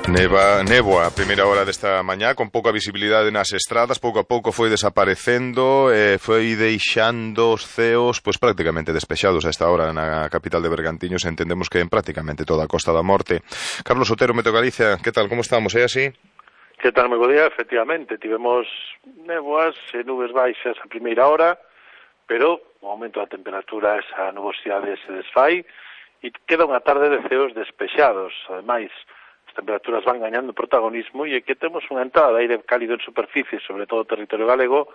Néboa a primeira hora desta mañá, con pouca visibilidade nas estradas, pouco a pouco foi desaparecendo, foi deixando os ceos pois prácticamente despexados a esta hora na capital de Bergantiños. Entendemos que en prácticamente toda a Costa da Morte. Carlos Otero, Meteo Galicia, que tal, como estamos, é así? Que tal, moi bo día? Efectivamente, tivemos néboas e nubes baixas a primeira hora, pero o aumento da temperatura, esa nubosidade se desfai e queda unha tarde de ceos despexados. Ademais, as temperaturas van gañando protagonismo e aquí temos unha entrada de aire cálido en superficie, sobre todo o territorio galego,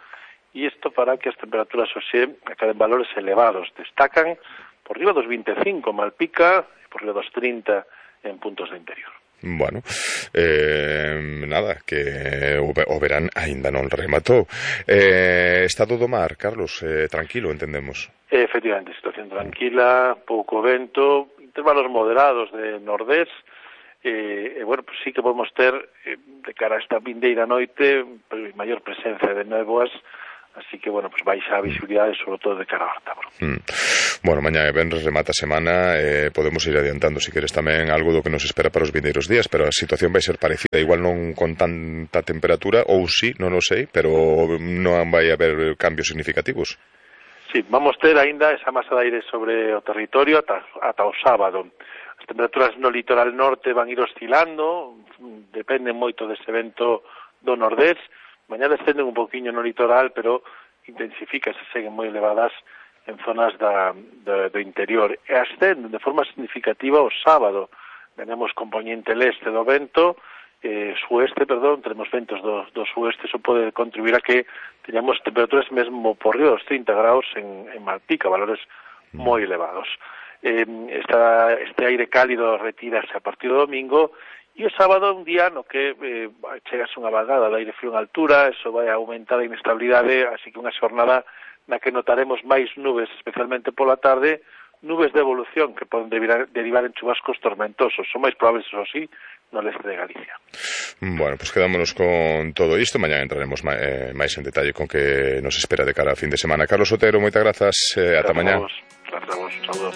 e isto fará que as temperaturas hoxe acaden valores elevados. Destacan por riba dos 25 Malpica e por riba dos 30 en puntos do interior. Bueno, nada, que o verán aínda non rematou. Estado do mar, Carlos, tranquilo, entendemos. Efectivamente, situación tranquila, pouco vento, intervalos moderados de nordés, bueno, pues sí que podemos ter, de cara a esta vindeira noite, maior presencia de néboas, así que, bueno, pues baixa a visibilidade, sobre todo de cara ao Ártabro. Bueno, mañá e venres remata a semana, podemos ir adiantando, se queres, tamén algo do que nos espera para os vindeiros días, pero a situación vai ser parecida, igual non con tanta temperatura, ou sí, non o sei, pero non vai haber cambios significativos. Sí, vamos ter aínda esa masa de aire sobre o territorio ata o sábado. As temperaturas no litoral norte van ir oscilando, dependen moito dese vento do nordés. Mañá descenden un poquinho no litoral, pero intensifica, se seguen moi elevadas en zonas do interior. E ascenden de forma significativa o sábado. Tenemos componente leste do vento, sueste, tenemos ventos do sueste, eso pode contribuir a que teñamos temperaturas mesmo por riba dos 30 graus en Malpica, valores moi elevados. Este aire cálido retírase a partir do domingo e o sábado un día no que chegase unha vagada de aire frío en altura, eso vai aumentar a inestabilidade, así que unha xornada na que notaremos máis nubes, especialmente pola tarde, nubes de evolución que poden derivar en chubascos tormentosos. Son máis probables, eso sí, no leste de Galicia. Bueno, pues quedámonos con todo isto. Mañá entraremos máis en detalle con que nos espera de cara a fin de semana. Carlos Otero, moitas grazas. Ata mañá. Grazas a vos. Un saludo.